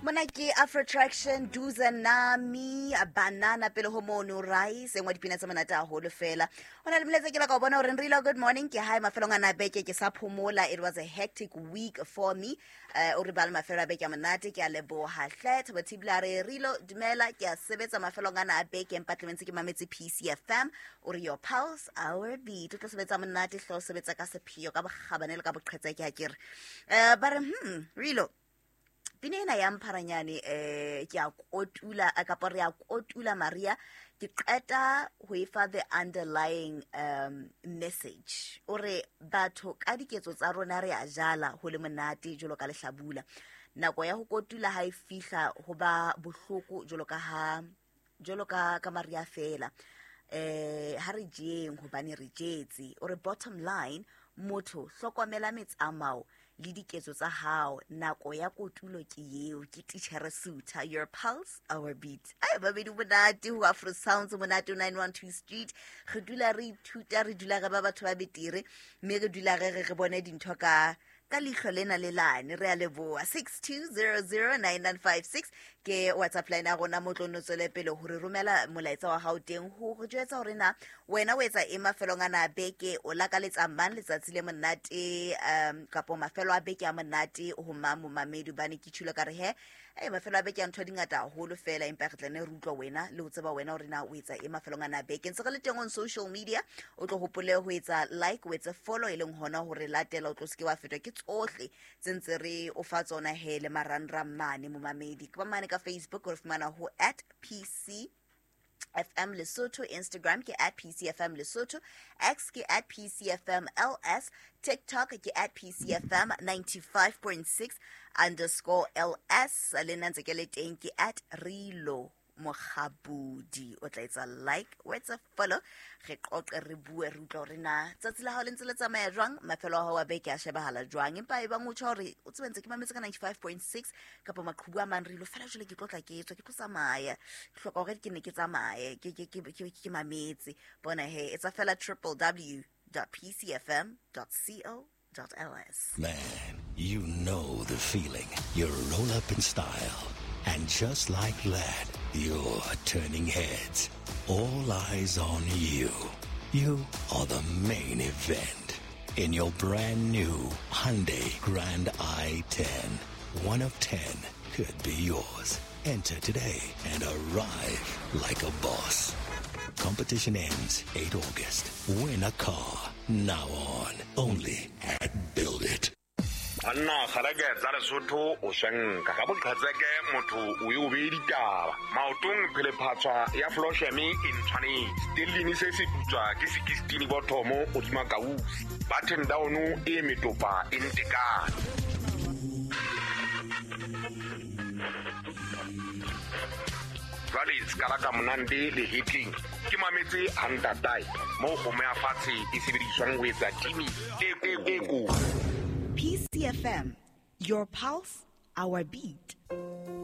Mona ke Afrotraction Duza Nami Banana pele ho mono rice engwe dipina tse monate haholo fela. Ho na le molaetsa ke la ka o bona hore Nrilo, good morning, ke hae mafelong ana a beke ke sa phomola. It was a hectic week for me. O re ba le mafelo a beke a monate, ke a leboha hle. Thabo Thibla re Rilo dumela, ke a sebetsa mafelong ana a beke empa tlemetse ke mametse PCFM. O re your pulse our beat. O tlo sebetsa monate hle, o sebetsa ka sepheo ka bokgabane le ka boqhetseke ha ke re. Ba re Rilo pina ena ya mpharanyane ke a kotula, kapa re a kotula Maria, ke qeta ho e fa the underlying message. O re batho ka diketso tsa rona re a jala ho le monate jwalo ka lehlabula, nako ya ho kotula ha e fihla ho ba bohloko jwalo ka ha jwalo ka Maria fela. Ha re jeng hobane re jetse. O re bottom line, motho hlokomela metsamao le diketso tsa hao, nako ya kotulo ke eo. Ke Titjhere Suta, your pulse our beat. Ai babedi monate ho Afro Sounds, monate 912 Street. Re dula re ithuta, re dula re ba batho ba betere, mme re dula re re re bone dintho ka leihlo lena le lane. Re a leboha. 62009956 ke WhatsApp line ya rona, mo tlo nno tswele pele hore romela molaetsa wa hao teng ho re jwetsa hore na wena o etsa eng mafelong ana a beke, o lakaletsa mang letsatsi le monate, kapo mafelo a beke a monate ho mang momamedi. Hobane ke tjhilo ka re he, ei mafelo a beke a ntho di ngata haholo fela, empa re tla ne re utlwa wena le ho tseba wena hore na o etsa eng mafelong ana a beke. Ntse re le teng on social media, o tlo hopole ho etsa like, o etse follow, e leng hona hore latela, o tlo se ke wa fetwa ke tsohle tse ntse re o fa tsona he le marangrang mane momamedi. Ke ba mane ka Facebook o re fumana ho at PC FM Lesotho, Instagram ke at PCFM Lesotho, X ke at PCFM LS, TikTok ke at PCFM 95.6 underscore LS, le nna ntse ke le teng ke at Rilo Mokgabudi. O tla etsa like, o etsa follow, re qoqe, re bue, re utlwa hore na tsatsi la hao le ntse le tsamaya jwang, mafelo a hao a beke a shebahala jwang. Empa e bang o tjho hore o tsebe ntse ke mametse ka 95.6 kapa maqhubu a mang, Rilo fela jwale ke tlo tla ke tswa, ke tlo tsamaya, ke hloka hore ke ne ke tsamaye ke mametse. Bona he, etsa fela triple w dot p c f m dot c o dot l s. Man, you know the feeling. You roll up in style, and just like that, you're turning heads. All eyes on you. You are the main event. In your brand new Hyundai Grand i10, 1 of 10 could be yours. Enter today and arrive like a boss. Competition ends 8 August. Win a car now on only at Build It. Banna kgaleke tsa Lesotho o swenka ka boqhetseke, motho o e o beye ditaba maotong, phelephatswa ya flosheme e ntshwanetse stellini se se putswa ke 16 bothomo hodima kausi button down e metopa e ntekane. Jwale sekala ka monande le hetleng ke mametse hantatae moo kgomo ya fatshe e sebediswang ho etsa timi e ko. PCFM, your pulse, our beat.